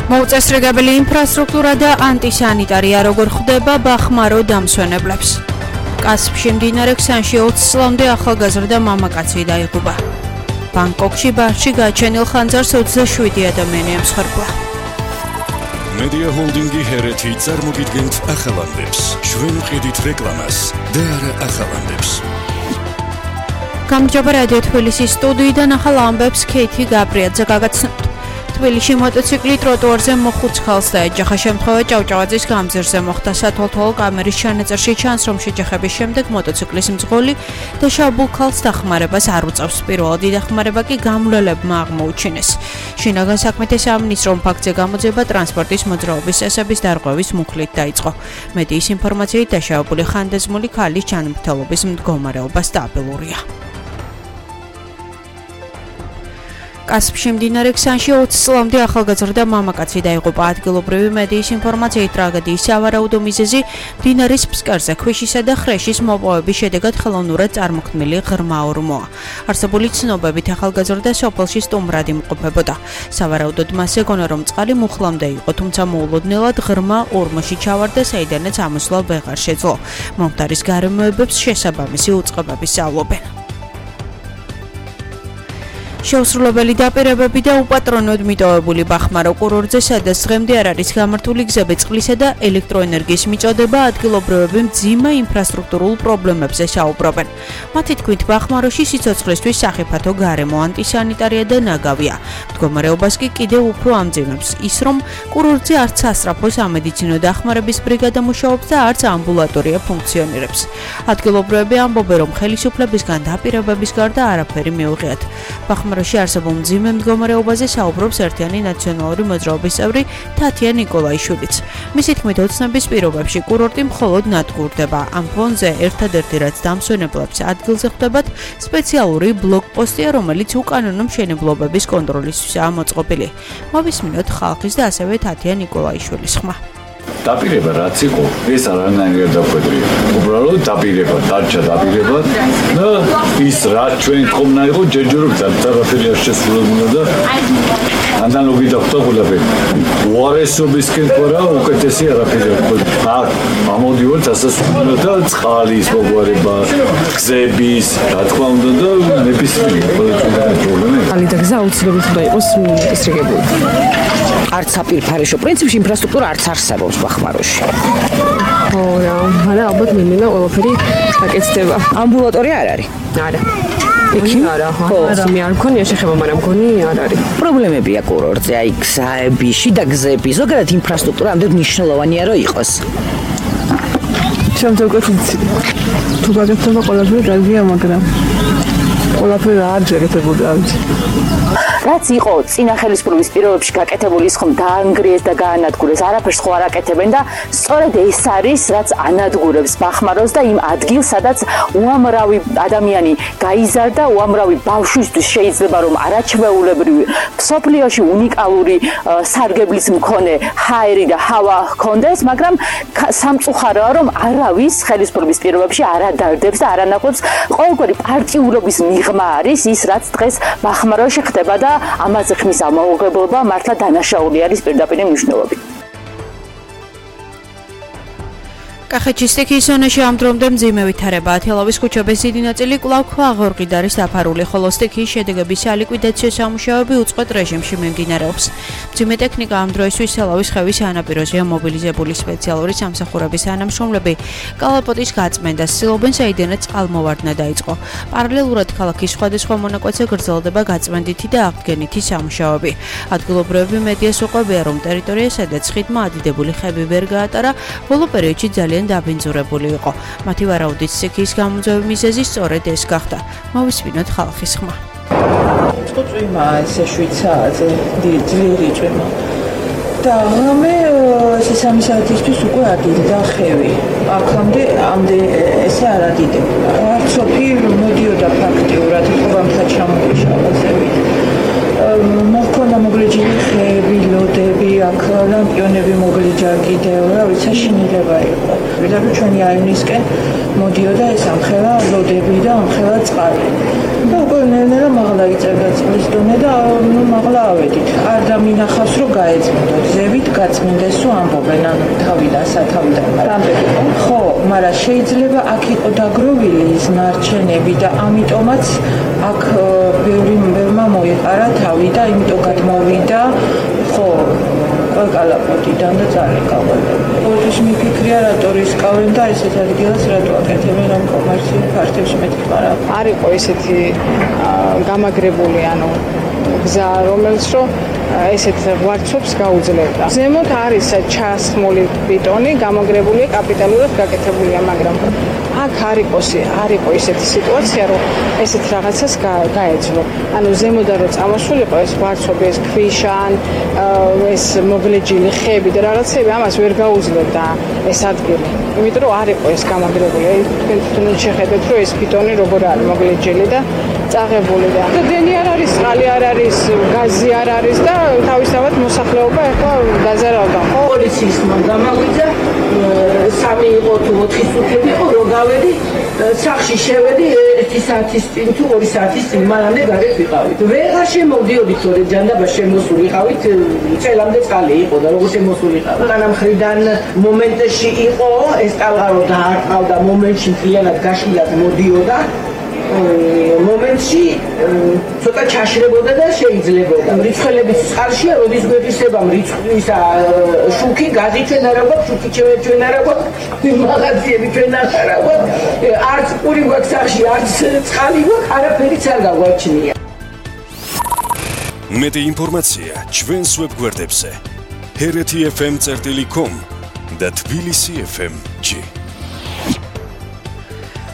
მოუწესრიგებელი ინფრასტრუქტურა და ანტისანიტარია როგორ ხვდება ბახმარო დამსვენებლებს. კასპში მდინარე ქსანში 20 წლამდე ახალგაზრდა მამაკაცი დაიღუპა. ბანგკოკში ბარში გაჩენილ ხანძარს 27 ადამიანი ემსხვერპლა. Media Holdingi ჰერეთი წარმოგიდგენთ ახალამდებს. ჩვენ ვყიდით რეკლამას და არა ახალამდებს. გამარჯობა რადიო თბილისის სტუდიიდან ახალ ამბებს ქეითი გაბრიაძე გაგაცნობთ. თბილისში მოტოციკლი ტროტუარზე მოხუც ხალხს დაეჯახა. შემთხვევა ჭავჭავაძის გამზირზე მოხდა. სათვალთვალო კამერის ჩანაწერში ჩანს, რომ შეჯახების შემდეგ მოტოციკლის მძღოლი და შაბულ ხალხს დახმარებას არ უწევს. პირველადი დახმარება კი გამვლელებმა აღმოუჩინეს. შინაგან საქმეთა სამინისტრომ ფაქტზე გამოძიება ტრანსპორტის მოძრაობის წესების დარღვევის მუხლით დაიწყო. მედიის ინფორმაციით დაშავებული ხანდაზმული ქალის ჯანმრთელობის მდგომარეობა სტაბილურია. კასპში მდინარე ქსანში 20 წლამდე ახალგაზრდა მამაკაცი დაიღუპა. ადგილობრივი მედიის ინფორმაციით ტრაგედიის სავარაუდო მიზეზი მდინარის ფსკერზე ქვიშისა და ხრეშის მოპოვების შედეგად ხელოვნურად წარმოქმნილი ღრმა ორმოა. არსებული ცნობებით ახალგაზრდა სოფელში სტუმრად იმყოფებოდა. სავარაუდოდ მას ეგონა, რომ წყალი მუხლამდე იყო, თუმცა მოულოდნელად ღრმა ორმოში ჩავარდა, საიდანაც ამოსვლა ვეღარ შეძლო. მომხდარის გარემოებებს შესაბამისი უწყებები სწავლობენ. შეუსრულებელი დაპირებები და უპატრონოდ მიტოვებული ბახმარო კურორტზე, სადაც დღემდე არ არის გამართული გზები, წყლისა და ელექტროენერგიის მიწოდება, ადგილობრივები მძიმე ინფრასტრუქტურულ პრობლემებზე საუბრობენ. მათი თქმით, ბახმაროში სიცოცხლისთვის სახიფათო გარემო, ანტისანიტარია და ნაგავია. მდგომარეობას კი კიდევ უფრო ამძიმებს ის, რომ კურორტზე არც სასწრაფო სამედიცინო დახმარების ბრიგადა მუშაობს და არც ამბულატორია ფუნქციონირებს. ადგილობრივები ამბობენ, რომ ხელისუფლებისგან დაპირებების გარდა არაფერი მიუღიათ. ბახმაროში არსებულ მძიმე მდგომარეობაზე საუბრობს ერთიანი ნაციონალური მოძრაობის წევრი თათია ნიკოლაიშვილიც. მისი თქმით, ოცნების პირობებში კურორტი მხოლოდ ნადგურდება. ამ ფონზე ერთადერთი რაც დამსვენებლებს ადგილზე ხვდებათ, სპეციალური ბლოკპოსტია, რომელიც უკანონო მშენებლობების კონტროლისთვისაა მოწყობილი. მოვისმინოთ ხალხის და ასევე თათია ნიკოლაიშვილის ხმა. დაპირება რაც იყო, ეს არანაირად დაგვეдрია. უბრალოდ დაპირება, დარჩა დაპირება და ის რაც ჩვენ თქომნა იყო, ჯერჯერობით არაფერი არ შესრულებულა და ანალოგი დახვდა ყველაფერი. უარესობისკენ ყურა უკეთესი არაფერი არ ყო. ამოდივართ ასასრულებლად და წყალის მოგვარება, გზების, რა თქმა უნდა და ნებისმიერი პრობლემა. წყალი და გზა აუცილებლად უნდა იყოს მოკისრიგებული. არც აპირფარეშო პრინციპში ინფრასტრუქტურა არც არსებობს ბახმაროში. რა, მაგრამ ალბათ მინდა ყველაფერი გაკეთდება. ამბულატორია არ არის? არა. იქი? არა, მე არ მქონია შეხება, მაგრამ მგონი არ არის. პრობლემებია კურორტზე, აი გზები, შიდა გზები, ზოგადად ინფრასტრუქტურა ამდენ მნიშვნელოვანია რომ იყოს. შემთხვევით თუ გაკეთდება ყველაფერი რაგია, მაგრამ ყველაფერი არ შეგეთებოდა ამით. რაც იყო წინა ხელისუფლების პირობებში გაკეთებული ის ხომ დაანგრიეს და გაანადგურეს, არაფერს ხო არ აკეთებენ და სწორედ ეს არის რაც ანადგურებს ბახმაროს და იმ ადგილს, სადაც უამრავი ადამიანი გაიზარდა, უამრავი ბავშვისთვის შეიძლება რომ არაჩვეულებრივი მსოფლიოში უნიკალური სარგებლის მქონე ჰაერი და ჰავა ჰქონდეს, მაგრამ სამწუხაროა რომ არავის ხელისუფლების პირობებში არ ადარდებს და არ ანაკლებს ყოველგვარი პარტიულობის მიღმა არის ის რაც დღეს ბახმაროში ხდება და ამაზე ხმის ამოუღებლობა მართლა დანაშაული არის პირდაპირ მნიშვნელობით. კახეთის სტიქიის ზონაში ამ დრომდე მძიმე ვითარებაა. თელავის ქუჩების დიდი ნაწილი კვლავ ქვაღორღით არის დაფარული, ხოლო სტიქიის შედეგების სალიკვიდაციო სამუშაოები უწყვეტ რეჟიმში მიმდინარეობს. მძიმე ტექნიკა ამ დროისთვის თელავის ხევის სანაპიროზეა მობილიზებული. სპეციალური სამსახურების თანამშრომლები კალაპოტის გაწმენდას ცდილობენ, საიდანაც წყალმოვარდნა დაიწყო. პარალელურად ქალაქის სხვადასხვა მონაკვეთზე გრძელდება გაწმენდითი და აღდგენითი სამუშაოები. ადგილობრივები მედიას უყვებიან, რომ ტერიტორია, სადაც ხიდმა ადიდებული ხები ვერ გაატარა, ბოლო პერიოდში ძალიან დაბინძურებული იყო. მათი ვარაუდით სტიქიის გამოძიების მიზეზი სწორედ ეს გახდა. მოვისმინოთ ხალხის ხმა. წვიმა ესე შვიცაძე, ძლიერი წვიმა. და მე სამი საათისთვის უკვე ადიდდა ხევი. აქამდე ესე არ ადიდებდა. არც სოფი მოდიოდა ფაქტიურად, ხობამთა ჩამოშალაზებით. მოხდა მოგლეჯილი ხეები, ლოდები, აქ ლამპიონები მოგლეჯილი ჯერ კიდევ რა ვიცი შინილება იყო. ვიდრე ჩვენი აივნისკენ მოდიოდა ეს ამხელა ლოდები და ამხელა წყალი. და უკვე ნელ-ნელა მაღლა იწერდა წყლის დონე და მაღლა ავედით. არ დამინახავს რომ გაეწმინდოთ. ზევით გაწმინდეს თუ ამბობენ ანუ თავიდან სათავიდან. ხო, მაგრამ შეიძლება აქ იყო დაგროვილი ის ნარჩენები და ამიტომაც აქ ბევრმა მოიყარა თავი და იმიტომ გადმოვიდა ხო კალაპოტიდან და წარეკავენ. ყოველთვის მიფიქრია რატო რისკავენ და ესეთ ადგილას რატო აკეთებენ ამ კომერციულ ფართებში მეთქმა რა. არ იყო ესეთი გამაგრებული ანუ გზა რომელიც რომ ესეთ ვარცობს გაუძლებდა. ზემოთ არის ჩასხმული ბეტონი, გამაგრებული კაპიტალურად გაკეთებულია, მაგრამ აქ არ იყო ესეთი სიტუაცია, რომ ესეთ რაღაცას გაეძლო. ანუ ზემოდან რომ წამოსულიყო ეს ვარცობი, ეს ქვიშან, ეს მოგლეჯილი ხეები და რაღაცები, ამას ვერ გაუძლებდა ეს ადგილი. იმიტომ რომ არ იყო ეს გამაგრებული. თქვენ შეხედეთ, რომ ეს ბეტონი როგორ არის მოგლეჯილი და წაღებული და დენი არ არის, წყალი არ არის, გაზი არ არის და თავისთავად მოსახლეობა ახლა დაზარავდა. პოლიციის გამავიდა 3 იყო თუ 4 სუთები იყო რომ გავედი სახში შევედი 1 საათის წინ თუ 2 საათის წინ მანამდე გარეთ ვიყავით. ვეღარ შემოვდიოდით თორე ჯანდაბა შემოსულიყავით წელამდე წყალი იყო და როგორ შემოსულიყავ. განამ ხრიდან მომენტში იყო ეს ტალღა რომ დაარტყავდა მომენტში მთლიანად გაშლილად მოდიოდა მომენტში ცოტა ჩაშრებოდა და შეიძლებოდა. რიცხველების წყალშია, როდის გვეფისება რიცხვის შუქი, გაზი ჩვენ არ აგვაქვს, შუქი ჩვენ არ აგვაქვს, მაღაზიები ჩვენ არ აგვაქვს. არც პური გვაქვს სახში, არც წყალი გვაქვს, არაფერიც არ გაგვაჩნია. მეტი ინფორმაცია ჩვენს ვებგვერდებზე hereti.fm.com და tbilisi.fm.g.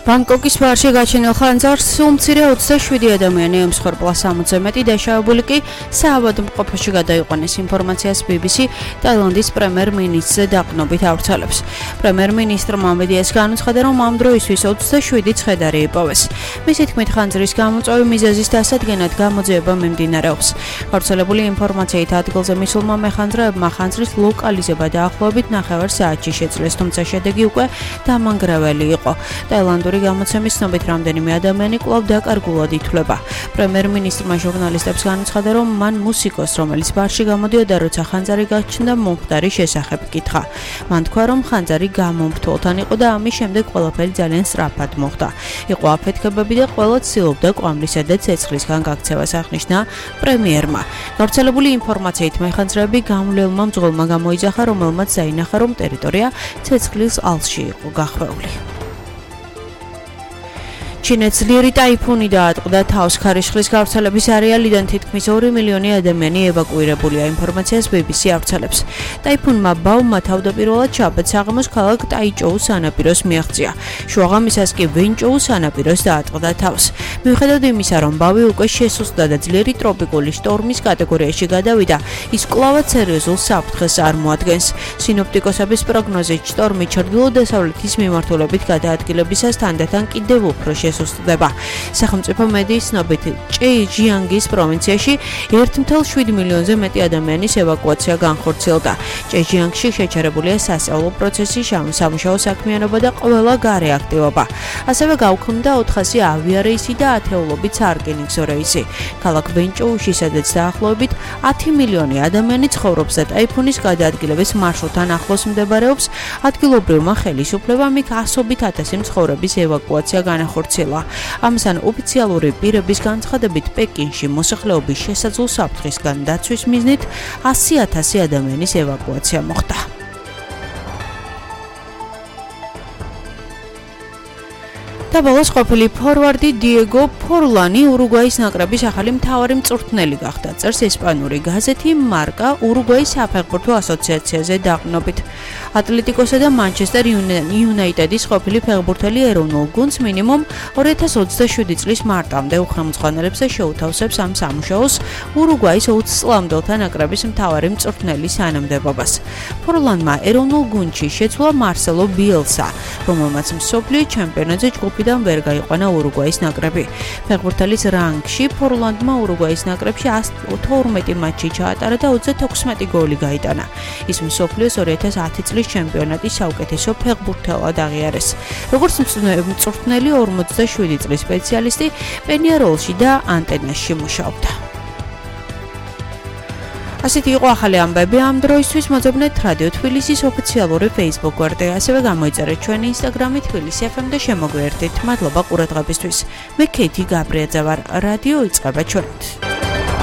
ბანგკოკის ბარში გაჩენილ ხანძარს უმცირე 27 ადამიანი ემსხვერპლა 60-ზე მეტი დაშავებული კი საავადმყოფოში გადაიყვანეს. ინფორმაციას BBC ტაილანდის პრემიერ-მინისტრზე დაყრდნობით ავრცელებს. პრემიერ-მინისტრმა მედიას განუცხადა, რომ ამ დროისთვის 27 ცხედარი იპოვეს. მისი თქმით, ხანძრის გამოწვევი მიზეზის დასადგენად გამოძიება მიმდინარეობს. გავრცელებული ინფორმაციით ადგილზე მისულმა მეხანძრეებმა ხანძრის ლოკალიზება დაახლოებით 9 საათში შეძლეს, თუმცა შედეგი უკვე დამანგრეველი იყო. ტაილანდური გამოცემის ცნობით რამდენიმე ადამიანი კვლავ დაკარგულად ითვლება. პრემიერ-მინისტრმა ჟურნალისტებს განუცხადა, რომ მან მუსიკოს, რომელიც ბარში გამოდიოდა, როცა ხანძარი გაჩნდა, მომხდარი შესახებ კითხა. მან თქვა, რომ ხანძარი გამომრთვალთან იყო და ამის შემდეგ ყველაფერი ძალიან სწრაფად მოხდა. იყო აფეთქებები და ყველა ცდილობდა კვამლისა და ცეცხლისგან გაქცევას, აღნიშნა პრემიერმა. გავრცელებული ინფორმაციით მეხანძრეები გამვლელმა მძღოლმა გამოიძახა, რომელმაც დაინახა, რომ ტერიტორია ცეცხლის ალსში იყო გახვეული. ჩინეთს ძლიერი ტაიფუნი დაატყდა თავს. ქარიშხლის გავრცელების არეალიდან თითქმის 2 მილიონი ადამიანი ევაკუირებულია. ინფორმაციას BBC ავრცელებს. ტაიფუნმა ბაუმა თავდაპირველად შაბათ საღამოს ქალაქ ტაიჭოუს სანაპიროს მიაღწია. შუაღამისას კი ვენჭოუს სანაპიროს დაატყდა თავს. მიუხედავად იმისა, რომ ბავი უკვე შესუსტდა და ძლიერი ტროპიკული შტორმის კატეგორიაში გადავიდა, ის კვლავაც სერიოზულ საფრთხეს წარმოადგენს. სინოპტიკოსების პროგნოზით შტორმი ჩრდილო-დასავლეთის მიმართულებით გადაადგილებისას თანდათან კიდევ უფრო შესუსტდება. სახელმწიფო მედიის ცნობით, ჭეიჯიანგის პროვინციაში 1,7 მილიონზე მეტი ადამიანის ევაკუაცია განხორციელდა. ჭეიჯიანგში შეჩერებულია სასწავლო პროცესი, სამუშაო საქმიანობა და ყველა გარე აქტივობა. ასევე გაუქმდა 400 ავიარეისი და ათეულობით საარკინიგზო რეისი. ქალაქ ვენჭოუში, სადაც დაახლოებით 10 მილიონი ადამიანი ცხოვრობს და ტაიფუნის გადაადგილების მარშრუტთან ახლოს მდებარეობს, ადგილობრივმა ხელისუფლებამ იქ ასობით ათასი მცხოვრების ევაკუაცია განახორციელა. ამასთან ოფიციალური პირების განცხადებით, პეკინში მოსახლეობის შესაძლო საფრთხისგან დაცვის მიზნით 100,000 ადამიანის ევაკუაცია მოხდა. და ბოლოს ყოფილი ფორვარდი დიეგო ფორლანი ურუგვაის ნაკრების ახალი მთავარი მწვრთნელი გახდა. წერს ესპანური გაზეთი მარკა ურუგვაის საფეხბურთო ასოციაციაზე დაყრდნობით. ატლეტიკოსა და მანჩესტერ იუნაიტედის ყოფილი ფეხბურთელი ეროვნულ გუნდს მინიმუმ 2027 წლის მარტამდე უხელმძღვანელებს და შეუთავსებს ამ სამუშაოს ურუგვაის 20 წლამდელთა ნაკრების მთავარი მწვრთნელის თანამდებობას. ფორლანმა ეროვნულ გუნდში შეცვლა მარსელო ბიელსა, რომელმაც მსოფლიო ჩემპიონატზე ჯგუფი თვიდან ვერ გაიყვანა ურუგვაის ნაკრები. ფეხბურთელის რანგში ფორლანდმა ურუგვაის ნაკრებში 112 მატჩი ჩაატარა და 26 გოლი გაიტანა. ის მსოფლიოს 2010 წლის ჩემპიონატის საუკეთესო ფეხბურთელად აღიარეს. როგორც მწვრთნელი 47 წლის სპეციალისტი პენიაროლში და ანტენაში მუშაობდა. ასეთი იყო ახალი ამბები ამ დროისთვის. მოძებნეთ რადიო თბილისის ოფიციალური Facebook გვერდზე, ასევე გამოიწერეთ ჩვენი Instagram-ი თბილისი FM და შემოგვიერთდით. მადლობა ყურადღებისთვის. მე ქეითი გაბრიაძე ვარ. რადიო იწყება ჩვენით.